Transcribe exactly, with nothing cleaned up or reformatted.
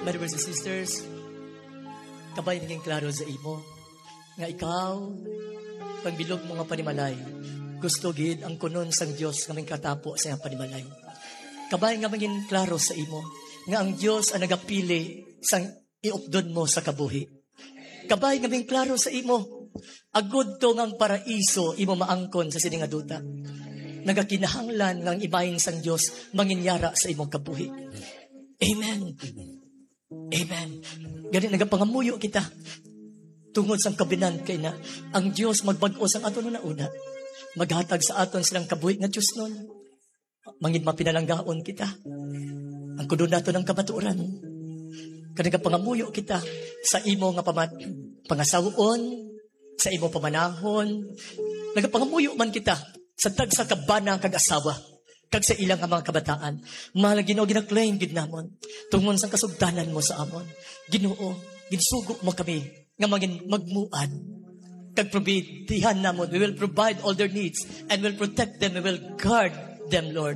Brothers and sisters, kabay naging klaro sa imo nga ikaw, pagbilog mo nga panimalay, gusto gid ang kunon sang Dios nga mangkatapo sa iyang panimalay. Kabay nga mangin klaro sa imo nga ang Dios ang nagapili sang iupdon mo sa kabuhi. Kabay nga mangin klaro sa imo, agud to nga ang paraiso imo maangkon sa sini nga duta. Nagakinahanglan nga ang ibahin sang Dios manginyara sa imong kabuhi. Amen. Amen. Gani nagapangamuyo kita tungod sang covenant kay na ang Dios magbag-o sang aton una-una. Maghatag sa aton silang kabuhi nga diosnon. Mangin mapinalanggaon kita. Ang kuno nato ng kamatuoran. Kaya nagapangamuyo kita sa imo nga pamat pangasawon, sa imo pamanahon. Nagapangamuyo man kita sa tagsa ka bana kag asawa, kag sa ila nga mga kabataan. Mahal nga Ginoo, gina-claim gid namon tungod sang kasugdanan mo sa amon. Ginoo, ginsugo mo kami nga mangin magmuad kag probidihan namon. We will provide all their needs and will protect them. We will guard them, Lord.